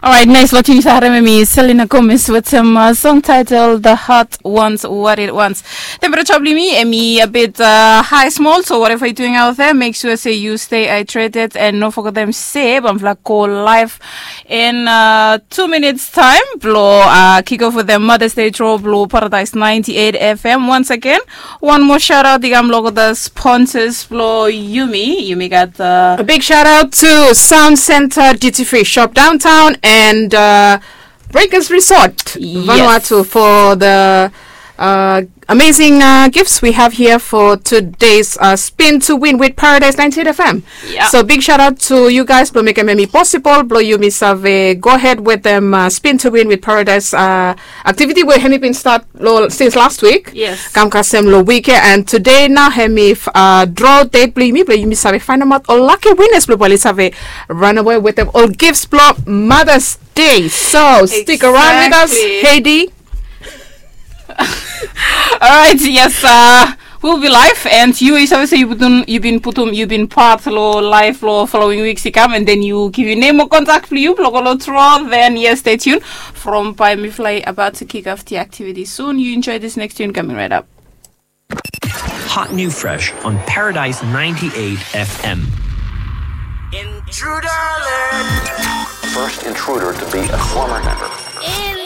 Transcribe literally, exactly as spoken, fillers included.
Alright, nice. Lo tune i save harem hemi Selena Gomez wetem uh, song title The Heart Wants What It Wants. Temperature blong yumi hemi a bit uh, high small, so whatever you're doing out there, make sure say you stay hydrated and no forget them say bamfla go live in uh, two minutes time. Blo uh, kick off with the Mother's Day draw blo Paradise ninety-eight F M once again. One more shout out, digam logo the sponsors blo Yumi. Yumi got the A big shout out to Sound Center Duty Free Shop Downtown and uh, Breakers Resort Yes. Vanuatu for the uh, amazing uh, gifts we have here for today's uh, Spin to Win with Paradise ninety-eight F M. Yeah. So big shout out to you guys blo mekem hemi possible, blo yumi save go ahead with them uh, Spin to Win with Paradise uh, activity wey hemi bin start lo, since last week. Yes. Kam kasem lo week ya, and today nao hemi uh, draw date blo yumi, blo yumi save find out all lucky winners blo bali save run away with them all gifts blo Mother's Day. So stick around with us, Exactly. Heidi. Alright, yes, uh, we'll be live and you, you save say you put on, you been put on, you been part lo live lo following weeks to come, and then you give your name or contact for you, blo go lo draw. Then yes, stay tuned. From by me fly about to kick off the activity soon. You enjoy this next tune coming right up. Hot new fresh on Paradise ninety-eight F M. Intruder alert! First intruder to be a former member. Intruder!